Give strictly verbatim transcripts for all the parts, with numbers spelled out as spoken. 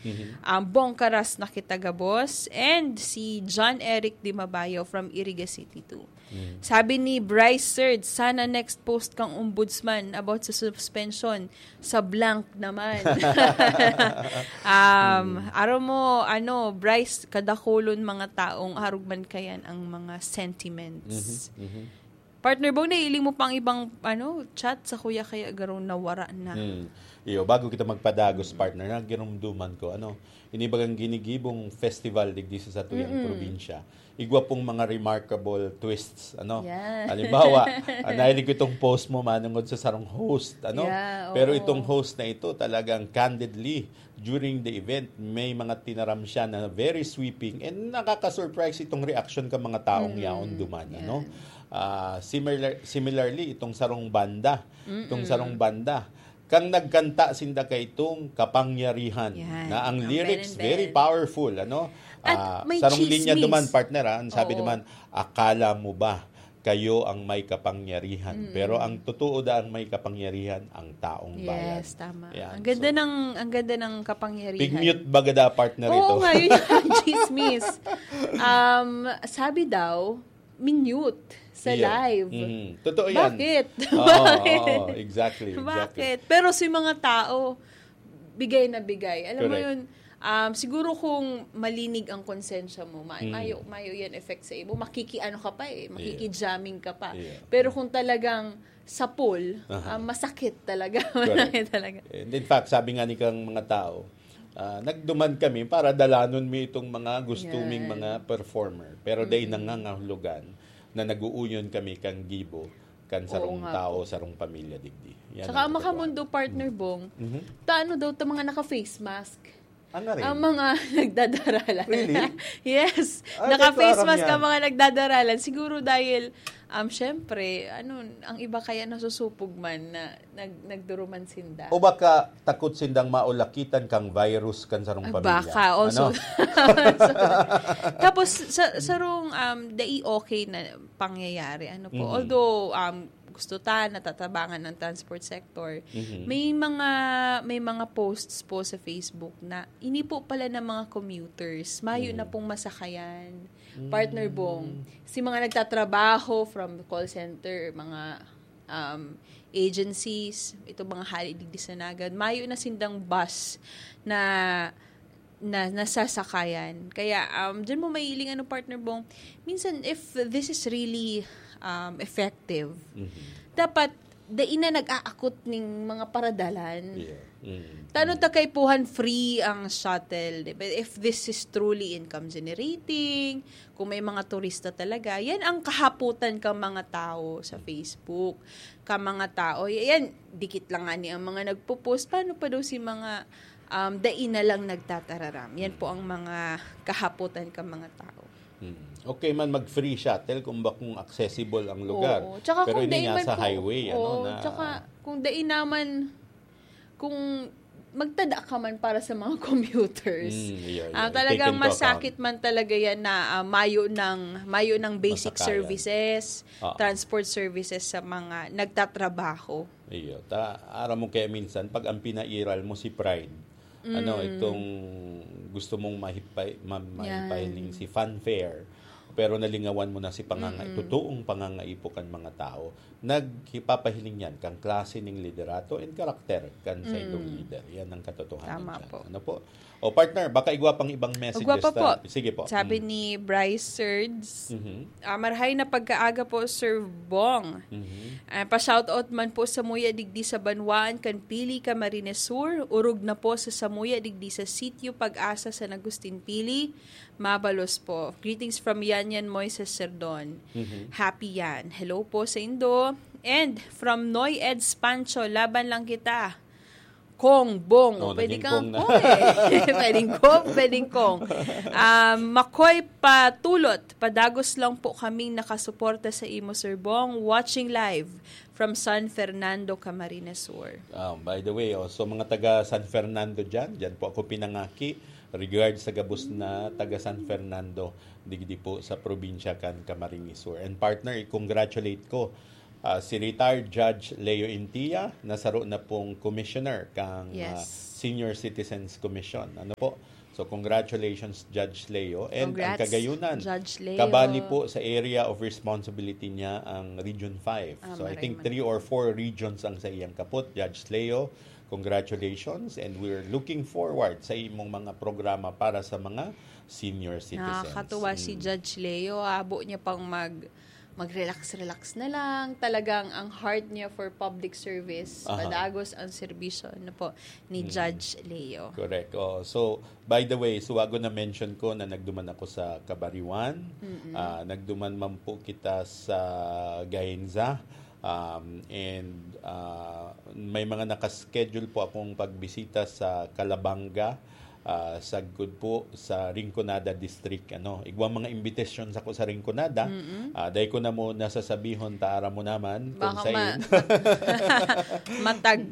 Mhm. Um, Bong Karas na kita gabos, and si John Eric Di Mabayo from Iriga City too. Mm. Sabi ni Bryce Surd, "Sana next post kang ombudsman about sa suspension, sa blank naman." Um, Mm. Aram mo, ano, Bryce, kadakulon mga taong arog man kayan ang mga sentiments. Mhm, mhm. Partner Bong, nailing mo pang ibang, ano, chat sa kuya kaya garo nawara na. Hmm. Iyo, bago kita magpadagos, partner, nagirumduman ko, ano, ini bagang ginigibong festival digdi sa satuyang Mm-mm. probinsya. Igwa pong mga remarkable twists, ano. Yan. Halimbawa, ah, nahiling ko itong post mo manungod sa sarong host, ano. Yeah, Pero oo. itong host na ito talagang candidly during the event, may mga tinaram siya na very sweeping and nakaka-surprise itong reaksyon ka mga taong Mm, yaon duman, ano? yan. Ah, similar, similarly, itong sarong banda, itong Mm-mm. sarong banda, kang nagkanta sinda kay itong kapangyarihan, Yan, na ang ang lyrics Ben and very Ben. powerful, ano? At Ah, may sarong linya chismis. duman, partner, ah, ang sabi Oo. naman, "Akala mo ba kayo ang may kapangyarihan?" Mm. Pero ang totoo da ang may kapangyarihan, ang taong bayan. Yes, tama. Yan, Ang ganda so, ng, ang ganda ng kapangyarihan. Pig-mute baga da, partner, Oo ito. nga, yun yung chismis. Um, sabi daw, minute sa Iyo. live. Mhm. Totoo yan. Bakit? Oo, Bakit? oo, exactly, exactly. Bakit? Pero si mga tao, bigay na bigay. Alam mo Correct. yun, um, siguro kung malinig ang konsensya mo, ma- Mm. mayo, mayo yan effect sa imo. Makikiano ka pa eh, Yeah. makikijamming ka pa. Yeah. Pero kung talagang sapul, Aha. ah, masakit talaga. Correct. Masakit talaga. And in fact, sabi nga ni kang mga tao, ah, nagduman kami para dalanon mi itong mga gusto ming Yan. mga performer. Pero dai Mm. nangangahulugan na nag-uuyon kami kang gibo, kan Oo sarong nga tao, po. sarong pamilya digdi. Yan Tsaka ang ang katotohanan. makamundo, partner Mm. Bong, Mhm. ta ano daw ta mga naka-face mask? Ah, nga rin? Ang mga nagdadaralan. Really? Yes. Ah, Naka-face dahil mask aram ang yan. mga nagdadaralan. Siguro dahil, um, syempre, ano, ang iba kaya nasusupog man na nag-, nagduruman sinda. O baka takot sindang maulakitan kang virus kan sarong Ah, pamilya. baka, oh, Ano? so, so, tapos, sa, sarong, um, dai okay na pangyayari, ano po. Mhm. Although, um, gusto ta, natatabangan ng transport sector, Mhm. may mga, may mga posts po sa Facebook na ini po pala ng mga commuters, mayo na Mhm. pong masakayan. Partner Mm. Bong, si mga nagtatrabaho from call center, mga, um, agencies, ito mga hali digdi sa Naga, mayo na sindang bus na, na nasasakayan. Kaya, um, dyan mo mailing, ano, partner Bong, minsan if this is really, um, effective, Mhm. dapat dai na nag-aakot ning mga paradalan. Yeah. Mm. Tano Mm. ta kaipuhan free ang shuttle, di ba? If this is truly income generating, kung may mga turista talaga, yan ang kahapotan ka mga tao sa Facebook. Ka mga tao, y-, yan, dikit lang nga ni ang mga nagpo-post. Paano pa daw si mga, um, dai na lang nagtatararam? Yan po ang mga kahapotan ka mga tao. Mm. Okay man mag-free shuttle kung ba kung accessible ang lugar. Oo. Tsaka Pero kung hindi dai nga man sa po, highway, ano, oo, na tsaka kung dai naman, kung magtada ka man para sa mga commuters, Mm, yeah, yeah. ah, Take talagang into account. masakit man talaga yan na, ah, mayo ng, mayo ng basic Masakayan. services, Ah. transport services sa mga nagtatrabaho. Iyo. Ta, aram mo kaya minsan, pag ang pinairal mo si pride, ano, Mm. itong gusto mong mahipay-, ma-, Yan. mahipahiling si fanfare, pero nalingawan mo na si panganga-, Mm-mm. totoong pangangaipo kan mga tao, naghipapahiling yan kang klase ning liderato and karakter kan saindong Mm. lider. Yan ang katotohanan Tama dyan. po. Ano po? O, partner, baka igwa pang ibang messages Igwa pa ta. po. Sige po. Sabi Mm. ni Bryce Surds, Mhm. ah, "Marahay na pagkaaga po, Sir Bong. Mhm. Ah, pa-shoutout man po samuya digdi sa banwaan kan Pili, Camarines Sur. Urog na po sa samuya digdi sa Sitio Pag-asa, San Agustin, Pili. Mabalos po. Greetings from Yanyan Moises Serdon." Mhm. Happy yan. Hello po sa indo. And from Noy Eds Pancho, "Laban lang kita, Kong, Bong." Oh, Pwede naging kang Kong na. Kong eh. Pwedeng Kong, pwedeng Kong. Um, Makoy Patulot, "Padagos lang po kaming nakasuporta sa imo, Sir Bong. Watching live from San Fernando, Camarines Sur." Ah, by the way, oh, so mga taga San Fernando dyan, dyan po ako pinangaki. Regards sa gabos na taga San Fernando, digdi po sa probinsya kan Camarines Sur. And partner, i-congratulate ko Ah, si retired Judge Leo Intia, nasaro na pong commissioner kang, ah, Yes. Senior Citizens Commission. Ano po? So, congratulations, Judge Leo. And ang Congrats, Cagayonan, Judge Leo. Kabali po sa area of responsibility niya ang Region five. Ah, So, I maray think man. three or four regions ang sa iyang kapot. Judge Leo, congratulations. And we're looking forward sa imong mga programa para sa mga senior citizens. Nakakatuwa si Mm. Judge Leo. Abo niya pang mag, mag-relax-relax na lang. Talagang ang heart niya for public service. Aha. Padagos ang serbisyo, ano po, ni Mm. Judge Leo. Correct. Oh, so, by the way, suwago na mention ko na nagduman ako sa Kabariwan. Mm-mm. Ah, nagduman man po kita sa Gainza. Um, and, ah, may mga nakaschedule po akong pagbisita sa Calabanga, ah, sagkod po sa Rinconada District, ano. Igwa mga invitation sa ko sa Rinconada. Mm-mm. Ah, dai ko na mo nasasabihon, ta aram mo naman kung Baka sain. ma-, matag.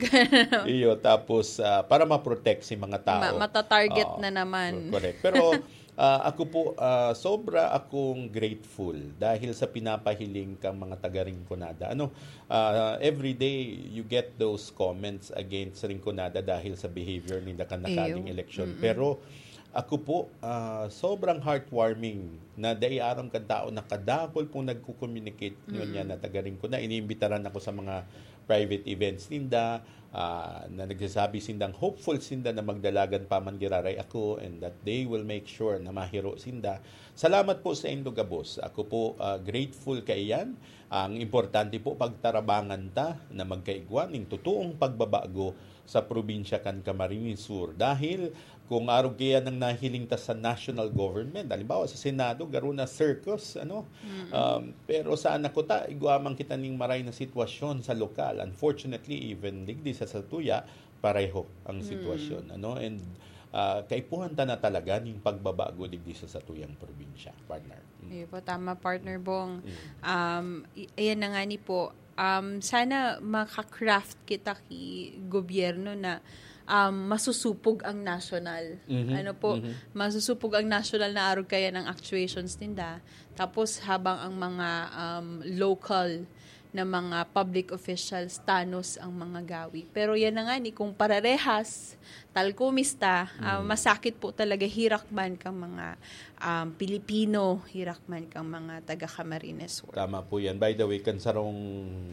Iyo, tapos, ah, para ma-protect si mga tao. Ma-, matatarget Oo, na naman. Correct. Pero, ah, ako po, ah, sobra akong grateful dahil sa pinapahiling kang mga taga Rinconada. Ano, ah, every day you get those comments against Rinconada dahil sa behavior ninda kan nakaaging Iyo. eleksyon. Mm-mm. Pero ako po, ah, sobrang heartwarming na dai aram kan tao na kadakol pong nagko-communicate ngunyan Mm-mm. na taga Rinconada. Iniimbitaran ako sa mga private events ninda, ah, na nagsasabi sindang hopeful sinda na magdalagan pa man giraray ako and that they will make sure na mahiro sinda. Salamat po sa indo gabos. Ako po, ah, grateful kaiyan. Ang importante po, pagtarabangan ta na magkaigwa ning totoong pagbabago sa probinsya kan Camarines Sur. Dahil kung arog kaya nang nahiling ta sa national government, halimbawa sa Senado, garo na circus, ano? Mm-mm. Um, pero sa anak ko ta, igwa man kita ning maray na sitwasyon sa lokal. Unfortunately, even digdi sa satuya, pareho ang Mm. sitwasyon, ano? And, ah, kaipuhan ta na talaga ning pagbabago digdi sa satuyang probinsya, partner. Mm. Iyo po, tama, partner Bong. Mm. Um, i-, ayan na nga ni po, um, sana maka-craft kita ki gobyerno na, um, masusupog ang national. Mhm, Ano po, mhm. masusupog ang national na arog kaya ng actuations ninda. Tapos habang ang mga, um, local na mga public officials, tanos ang mga gawi. Pero yan na nga ni, kung pararehas, talkumis ta, ah, Mm. masakit po talaga, hirak man kang mga, um, Pilipino, hirak man kang mga taga Camarines Sur. Tama po yan. By the way, kan sarong,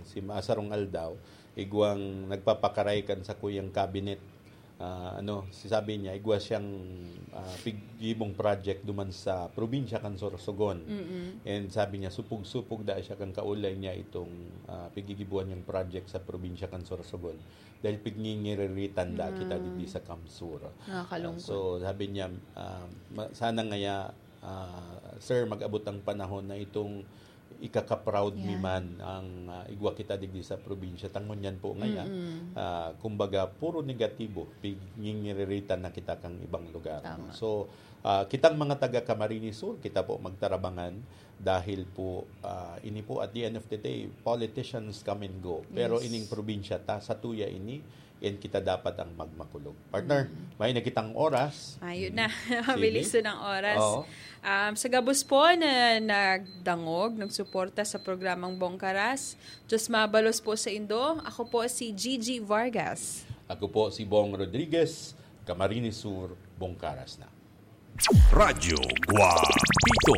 si, ah, sarong aldaw, igwang nagpapakaray kan sakuyang cabinet, ah, ano, si, sabi niya, igwa siyang, ah, pig-, gibong project duman sa probinsya kan Sorsogon. Mm-mm. And sabi niya, supog-supog da siya kan kaulay niya itong, ah, pigigibuan niyang project sa probinsya kan Sorsogon. Dahil pigngingiririritan da kita Mm. digdi sa CamSur. Nakakalungkot. Ah, so, sabi niya, ah, ma-, sana ngaya, ah, sir, mag-abot ang panahon na itong ikaka-proud mi Yan. man ang, ah, igwa kita digdi sa probinsya. Tangon yan po ngaya, Mm-mm. ah, kumbaga, puro negatibo, pigngingiririritan na kita kang ibang lugar, Tama. no? So, ah, kitang mga taga Camarines Sur, kita po magtarabangan dahil po, ah, ini po, at the end of the day, politicians come and go. Pero Yes. ining probinsya ta, satuya ini, yan kita dapat ang magmakulog. Partner, Mm. may na kitang oras. Ayun Mm. na. Sige. Mabilis na ang oras. Oo. Um, sa gabos po na nagdangog, nagsuporta sa programang Bongkaras, Diyos mabalos po sa indo. Ako po si Gigi Vargas. Ako po si Bong Rodriguez, Camarines Sur, Bongkaras na. Radyo Guapito.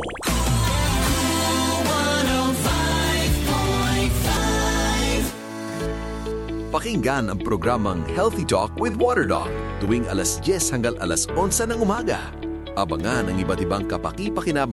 Pakinggan ang programang Healthy Talk with Water Doc tuwing alas dyes hanggang alas onse ng umaga. Abangan ang iba't ibang kapakipakinab